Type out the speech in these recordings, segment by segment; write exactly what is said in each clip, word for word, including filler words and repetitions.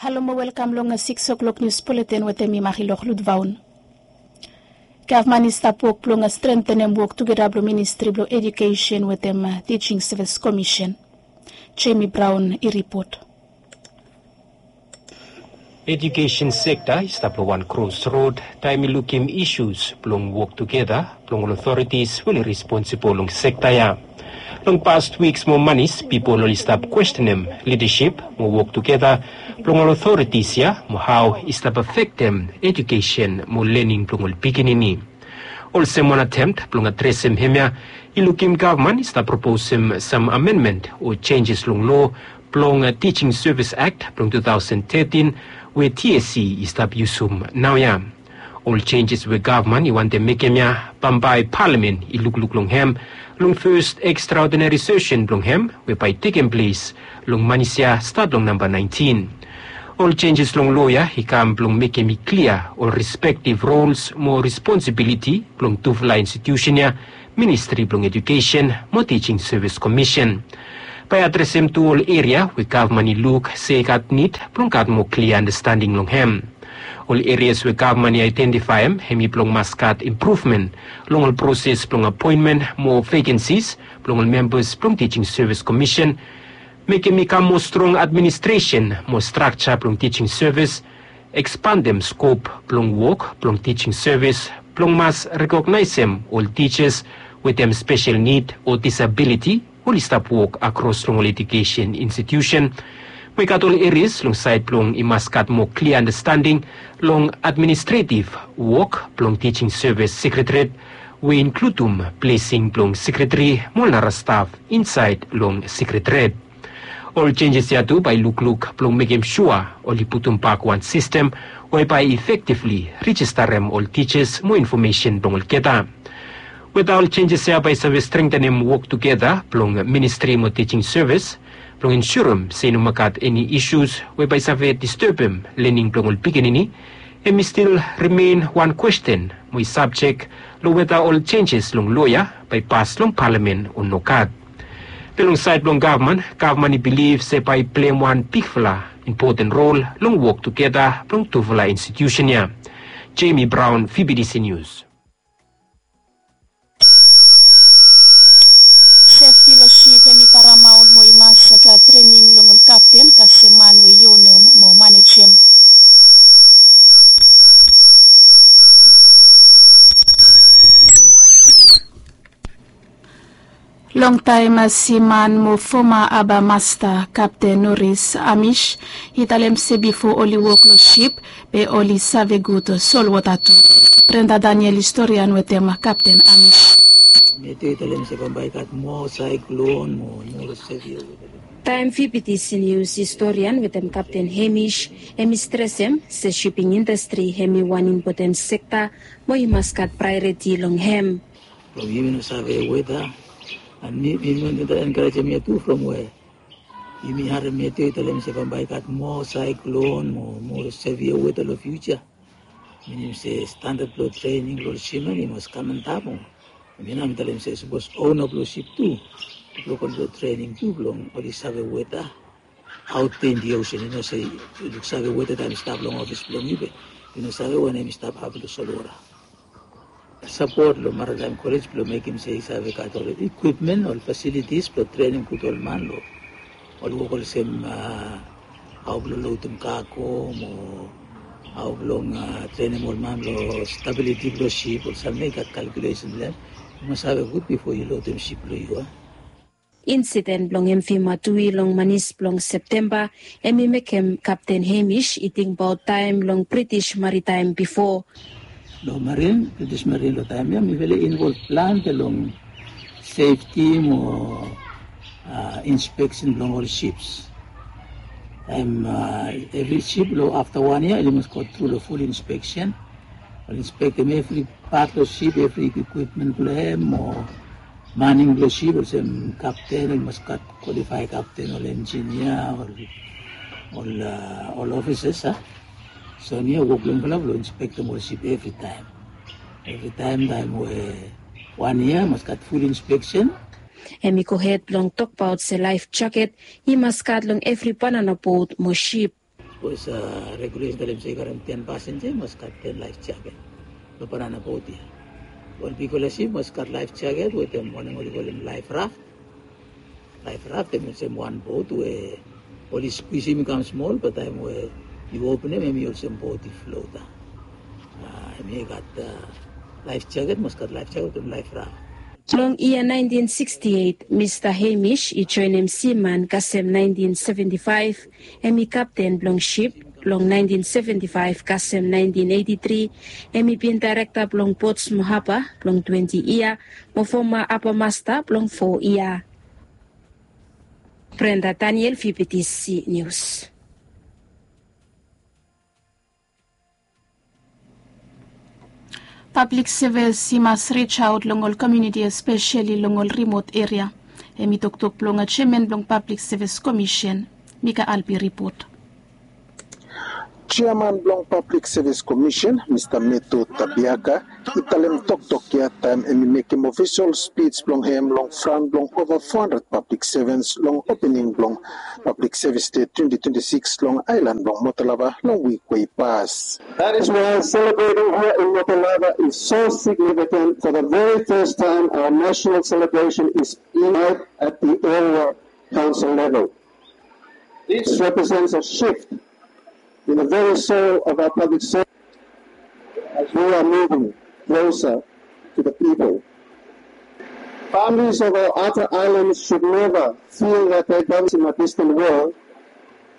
Halo mo welkam long sikis o'klok nius buletin wetem mi, Marilok Ludvaun. Gavman i stap wok blong strentenem wok tugeta blong ministri blong ejukesen wetem tijing sevis komisen. Jemi Braun i ripot. Ejukesen sekta i stap long wan krosrod taem i lukim isus blong wok tugeta blong ol otoritis we oli responsibol long sekta ya. Long past wiks mo manis pipol oli stap kwestenem lidasip mo wok tugeta blong ol otoritis ya mo hao i stap afektem ejukesen mo lening blong ol pikinini. Olsem wan atemt blong adresem hemia, i lukim gavman i stap proposem sam amenmen o jenjes long loa blong tijing sevis akt blong tu taosen tetin we TSC i stap yusum naoia. Ol jenjes we gavman i wantem mekem ya bambae palamen i lukluk long hem long fes ekstraodinari sesen blong hem we bae i tekem ples long manis ya stat long namba naentin. Ol jenjes long loa ya i kam blong mekem i klia ol respektiv rols mo responsibiliti blong tufala institiusen ya, ministri blong ejukesen mo tijing sevis komisen. Bae i adresem tu ol eria we gavman i luk se i gat nid blong gat moa klia andastanding long hem. Ol erias we gavman i aedentifaem hem i blong mas gat impruvmen long ol proses blong apoenmen mo vekensis blong ol membas blong tijing sevis komisen, mekem i kam moa strong administresen mo strakja blong tijing sevis, ekspandem skop blong wok blong tijing sevis blong mas rekognaesem ol tijas wetem spesel nid o disabiliti oli stap wok akros long ol ejukesen institiusen. Mo i gat ol erias long saed blong i mas gat moa klia andastanding long administretiv wok blong tijing sevis sekretariat we i inkludum blesing blong sekretari mo ol nara staf insaed long sekretariat. Ol jenjes ya tu bae i lukluk blong mekem sua oli putumbak wan sistem we bae i efektivli rejistarem ol tijas mo infomesen blong olgeta. Weta ol jenjes ya bae i save strengtenem wok tugeta blong ministri mo tijing sevis blong ensurem se i no moa gat eni isus we bae i save distebem lening blong ol pikinini, hem i stil rimen wan kwesten mo i sabjek long weta ol jenjes long loa ya bae i pas long palamen o nogat. Be long saed blong gavman, gavman i bilif se bae i pleim wan bigfala impoten rol long wok tugeta blong tufala institiusen ya. Jemi Braun, VBTC Nius. Sefti long sip hem i paramaon mo i mas gat trening long ol kapten kasem man we i onem mo manejem. Longtaem siman mo foma aba masta Kapten Norris Amish i talem se bifo oli wok long sip be oli save gud solwota tu. Brenda Daniel i storian wetem Kapten Amish. Matthew i talem se bambae i gat moa saiklon mo moa sevia weta. Taem VBTC Nius i storian wetem Kapten Hamish, hem i stresem se siping indastri hem i wan impoten sekta mo i mas gat praeoriti long hem. From yumi no save weta. An mi mi no nida enkarejem yet tu from we yumi harem Matthew i talem se bambae i gat moa saiklon mo moa sevia weta long fiuja. Minim se standad blong trening blong ol siman i mas kam antap. Yumi nao mi talem se sapos ona blong sip tu blong go long trening tu blong oli save weta. Aot in di osen i no se yu luksave weta taem i stap long ofis blong yu be yu no save wanem i stap hapun long solwota. Sapot long Maritime College blong mekem se i save gat ol ekwipmen ol fasilitis blong trenem gud ol man long ol wok olsem hao blong lotem kago mo hao blong trenem ol man long stabiliti blong sip ol sam ya i gat kalkulesen blong hem. Yu mas save gud bifo yu lotem sip blong yu a. Insiden blong emvi matui long manis blong Septemba hem i mekem Kapten Hemish i tingbaot taem long British Maritime bifo. Long marin, British Marin long taem ya mifala i involv plante long sefti mo inspeksen blong ol sips. Taem evri sip long afta wan yia oli mas go tru long ful inspeksen. Oli inspektem evri pat blong sip, evri ekwipmen blong hem o maning blong sip olsem kapten oli mas gat kwalifae kapten ol enjinia ol ol ofisas a. So niu wok blong yufala blong inspektem ol sip evritaem. Evritaem taem we wan yia mas gat ful inspeksen. Hem i gohed blong tokbaot se laef jaket i mas gat long evri banana bot mo sip. Bikos regulesen talem se i karem ten pasenja i mas gat ten laef jaket. Long banana bot ya, ol bigfala sip mas gat laef jaket wetem wanem oli kolem laef raf. Laef raf em olsem wan bot we oli skwisim i kam smol, bat taem we yu openem em i olsem bot i flota. Em i gat laef jaket, mas gat laef jaket wetem laef raf. Long yia naentin siksti eit, Mista Hemish i joenem siman kasem naentin seventi faef. Em i kapten blong sip long naentin seventi faef kasem naentin eiti tri. Em i bin daerekta blong Portsmouth Haba blong twenti yia, mo foma haba masta blong fo yia. Brenda Daniel, V B T C News. Pablik sevis i mas rijaot long ol komuniti, espeseli long ol rimot eria. Em i toktok blong jeaman blong Pablik Sevis Komisen, Mika Albi, ripot. Jeaman blong Pablik Sevis Komisen, Mista Meto Tabiaka, i talem toktok ya taem em i mekem ofisol spij blong hem long fran blong ova fo handred pablik sevens long opening blong Pablik Sevis Dei twenti twenti sikis long aelan blong Motolava long wik we i pas. That is why celebrating here in Motolava is so significant. For the very first time, our national celebration is being held at the area council level. This represents a shift in the very soul of our public service as we are moving closer to the people. Families of our outer islands should never feel that their government in a distant world.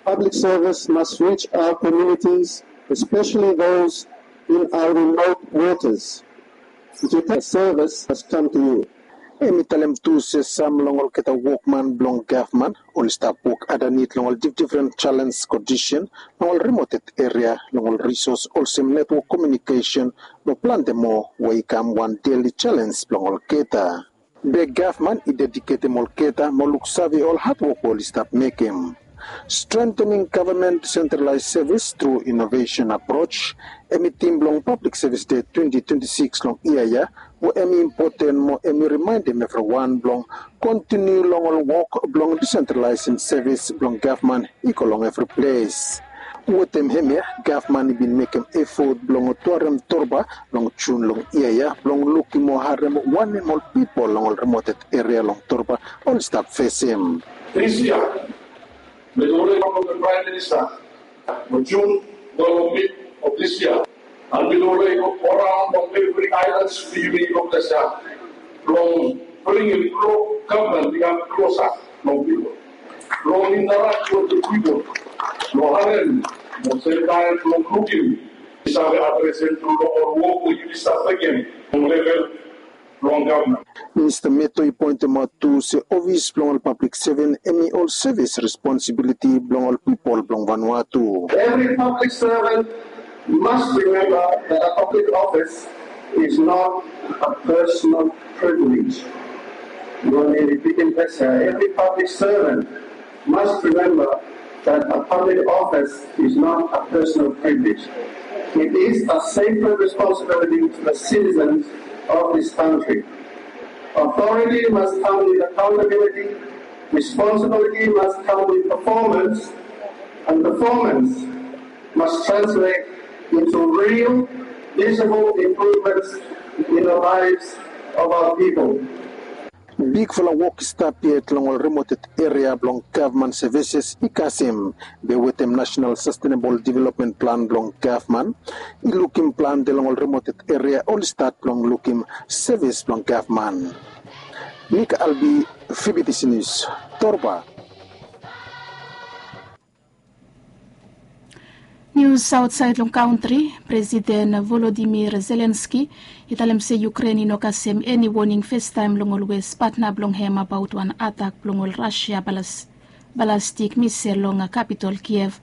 Public service must reach our communities, especially those in our remote waters. If you take service has come to you. Em i talem tu se sam long olgeta wokman blong gavman oli stap wok adanit long ol difdifren jalens kondisen long ol rimoted eria long ol risos olsem netwok komiunikesen mo plante moa we i kam wan deli jalens blong olgeta. Be gavman i dediketem olgeta mo luksave ol hadwok we oli stap mekem. Strengthening government decentralized service through innovation approach, em i tim blong Pablik Sevis Dei twenti twenti sikis long yia ya, we em i impoten mo em i rimaendem evriwan blong kontiniu long ol wok blong disentralaesem sevis blong gavman i go long evri ples. Wetem hemia, gavman i bin mekem efot blong tuarem Torba long Jun long yia ya blong lukim mo harem wanem ol pipol long ol rimoted eria long Torba oli stap fesem. This year, mi tu olredi tok long Praem Minista long Jun, long mit of this year. And mi tu olredi go raon long evri aelan blong yumi long ples ya blong bringim gavman i kam klosa long pipol, blong intarak wetem pipol, blong harem, mo semtaem blong lukim i save adresem tru long ol wok we yumi stap mekem long level blong gavman. Minista Meto i poentemaot tu se ofis blong ol pablik seven em i ol sevis responsibiliti blong ol pipol blong Vanuatu. Every public servant must remember that a public office is not a personal privilege. Let me repeat in Persia, every public servant must remember that a public office is not a personal privilege. It is a sacred responsibility to the citizens of this country. Authority must come with accountability, responsibility must come with performance, and performance must translate into real, visible improvements in the lives of our people. Bigfala wok i stap yet long ol remoted eria blong gavman sevises i kasem, be wetem Nasenal Sastenebol Developmen Plan blong gavman i lukim plante long ol remoted eria oli stat blong lukim sevis blong gavman. Nik Albi, Fibitisi Nius, Torba. Nius aotsaed long kantri. Presiden Volodimir Zelenski i talem se Yukren i no kasem eni woning festaem long olwes patna blong hem abaot wan atak blong ol Rasia balas, balastik misel long kapitol Kiev.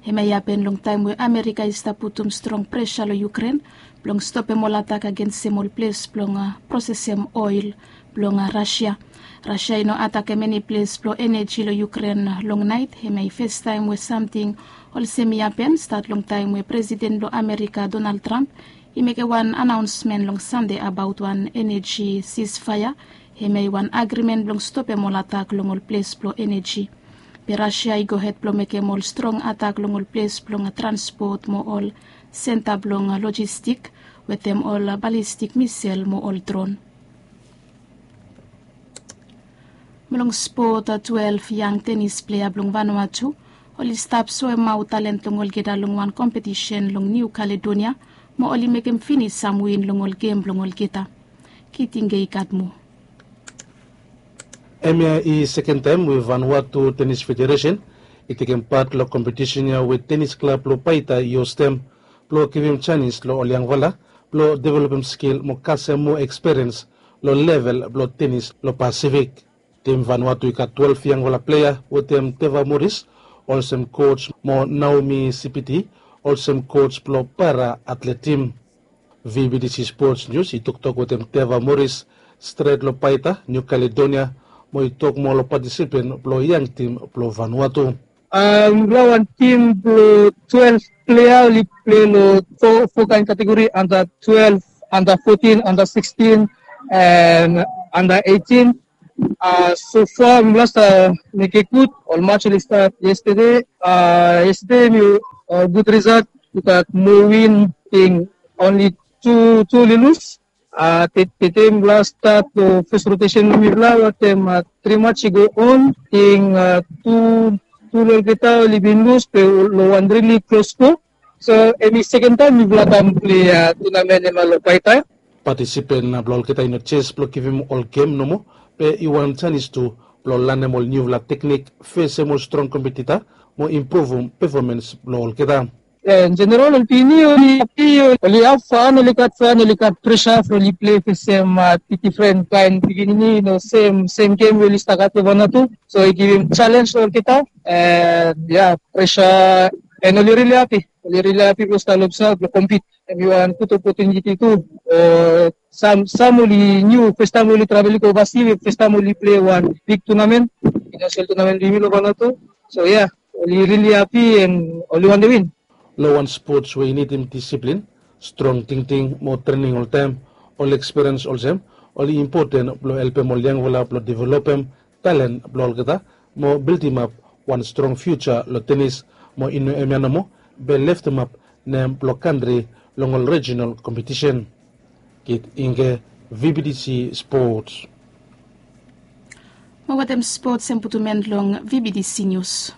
Hemia i hapen long taem we Amerika i stap putum strong presa long Yukren blong stopem ol atak agensem ol ples blong prosesem oel blong Rasia. Rasia i no atakem eni ples blong eneji long Yukren long naet. Hemia i festaem we samting olsem i hapen stat long taem we Presiden blong Amerika Donald Trump i mekem wan anaonsmen long Sande abaot wan eneji sisfaea. Hemia i wan agrimen blong stopem ol atak long ol ples blong eneji. Be Rasia i gohed blong mekem ol strong atak long ol ples blong transpot mo ol senta blong lojistik wetem ol balistik misel mo ol dron. Mo long spot, twelef yang tenis plea blong Vanuatu oli stap soemaot talent long olgeta long wan kompetisen long Niu Kaledonia mo oli mekem finis sam win long ol gem blong olgeta. Kitingei gat moa. Hemia i sekentaem we Vanuatu Tenis Federesen i tekem pat long kompetisen ya we tenis klab blong Paita i hostem blong givim janis long ol yangfala blong developem skil mo kasem moa ekspiriens long level blong tenis long Pasifik. Tim Vanuatu i gat twelef yangfala plea wetem Teva Moris olsem koj mo Naomi Sipiti olsem koj blong para atlet tim. VBTC Sports News i toktok wetem Teva Moris stret long Paita, Niu Kaledonia, mo i tok moa long patisipen blong yang tim blong Vanuatu. Mifala wan tim blong twelef plea oli plei long fo kaen kategori, anda twelef, anda fotin, anda sikstin, and anda eitin. So fa mifala stap mekem gud. Ol mats oli stat yestede. Yestede mi gud risalt. I gat moa win, ting onli tu tu oli lus. Tede mifala stat long fes rotesen blong mifala wetem tri mats i go on, ting tu tu long olgeta oli bin lus be long wan rili klos sko. So hemi sekentaem mifala kam plei tunamen hemia long Paita. Patisipen blong olgeta i no jes blong givim ol gem nomo, be i wan janis tu blong lanem ol niufala teknik, fesem ol strong kompetita mo impruvum pefomens blong olgeta. Jeneral ol pikinini oli hapi, oli haf fan, oli gat fan, oli gat presa blong oli plei fesem difren kaen pikinini, no sem sem gem we oli stap gat long Vanuatu. So i givim jalens long olgeta. And ya, presa, and oli rili hapi. Oli rili hapi blong stap long olgeta blong kompit. Hemi wan gud opotuniti tu. Sam sam oli niu, festaem oli travel i go ovasi, festaem oli plei wan big tunamen, finansel tunamen blong yumi long Vanuatu. So ya, oli rili hapi and oli wantem win. Long wan spots we i nidim disiplin, strong tingting mo trening oltaem, ol ekspiriens olsem oli impoten blong helpem ol yangfala blong developem talen blong olgeta mo bildimap wan strong fiuja long tenis, mo i no hemia nomo, be leftemap nem blong kantri long ol rejinal kompetisen. Kit Ingke, VBTC Sports. Mo wetem spots em putum en long VBTC Nius.